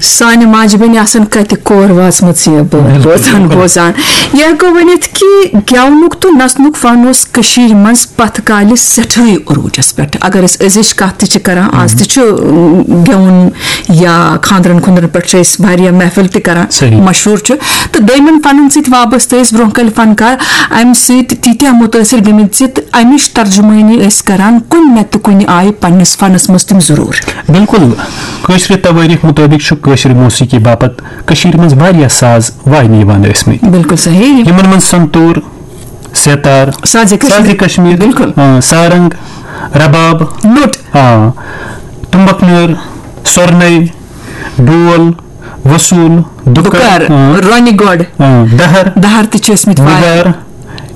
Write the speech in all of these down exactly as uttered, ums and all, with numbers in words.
سانہِ ماجہِ بیٚنہِ آسن کتہِ کور وٲژمٕژ یہِ بٲتھ بوزان، بوزان۔ یہِ ہٮ۪کو ؤنِتھ کہِ گٮ۪ونُک تہٕ نژنُک فن اوس کٔشیٖرِ منٛز پتھ کالہِ سٮ۪ٹھٕے عروٗجس پٮ۪ٹھ۔ اگر أسۍ أزِچ کتھ تہِ چھِ کران، آز تہِ چھُ، اۭں، گٮ۪وُن یا خانٛدرن خُنٛدرن پٮ۪ٹھ چھِ أسۍ واریاہ محفل تہِ کران، صحیح۔ مشہوٗر چھُ۔ تہٕ دوٚیمٮ۪ن فنن سۭتۍ وابستہٕ ٲسۍ برونٛہہ کالہِ فنکار امہِ سۭتۍ تیٖتیٛاہ مُتٲثر گٔمٕتۍ زِ تہٕ امِچ ترجمٲنی ٲسۍ کران کُنہِ نتہٕ کُنہِ آیہِ پننِس فنس منٛز تِم ضروٗر۔ بِلکُل۔ کٲشرِ توٲریٖخ مُطٲبِق چھُ کٲشرِ موسیقی باپتھ کٔشیٖرِ منٛز واریاہ ساز واینہٕ یِوان ٲسمٕتۍ۔ بِلکُل صحیح۔ یِمن منٛز سنتوٗر، سیتار، سازِ کشمیر۔ سازِ کشمیر، بِلکُل۔ آ، سارنگ، رباب، نوٚٹ۔ آ، تُمبکھ نٲر، سۄرنَے، ڈول، وصوٗل، دُکر، دُکر، آ، رۄنہِ گۄڈ۔ آ، دہر، دہر تہِ چھِ ٲسمٕتۍ واریاہ۔ وُگار،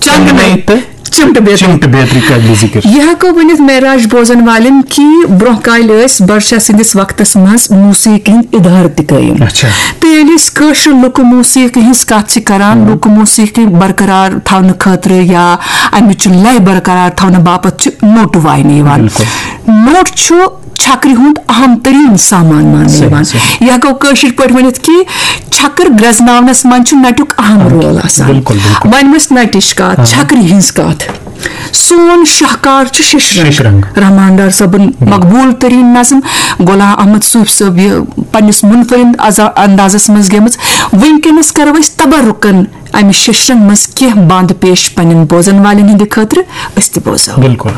چنگنَے، چنگنَے تہٕ چِمٹہٕ بیترِ۔ چِمٹہٕ بیترِ قٲبلِ ذِکر۔ یہِ ہٮ۪کو ؤنِتھ معراج بوزن والٮ۪ن کہِ برونٛہہ کالہِ ٲسۍ بڈشاہ سٕنٛدِس وقتس منٛز موسیقی ہٕنٛدۍ ادارٕ تہِ قٲیِم۔ اچھا۔ تہٕ ییٚلہِ أسۍ کٲشرِ لُکہٕ موسیقی ہٕنٛز کتھ چھِ کران، لُکہٕ موسیقی برقرار تھاونہٕ خٲطرٕ یا امِچ لے برقرار تھاونہٕ باپتھ چھِ نوٹہٕ واینہٕ یِوان۔ بِلکُل۔ نوٹ چھُ چھکرِ ہُنٛد اہم ترین سامان ماننہٕ صحیح، یِوان۔ صحیح۔ یہِ ہٮ۪کو کٲشِر پٲٹھۍ ؤنِتھ کہِ چھکر گرٛزناونس منٛز چھُ نٹیُک اہم رول آسان۔ بِلکُل، بِلکُل۔ وۄنۍ ٲس نٹِچ کتھ، چھکرِ ہٕنٛز کتھ۔ سون شاہکار چھُ ششرنگ۔ ششرنگ۔ رحمان ڈار صٲبُن مقبوٗل ترین نظم۔ غلام احمد صوفی صٲب یہِ پننِس منفرد از-، اندازس منٛز گیمٕژ۔ وٕنکیٚنس کرو أسۍ تبرکن امہِ ششرنگ منٛز کینٛہہ بند پیش پننٮ۪ن بوزن والٮ۪ن ہٕنٛدِ خٲطرٕ۔ أسۍ تہِ بوزو۔ بِلکُل۔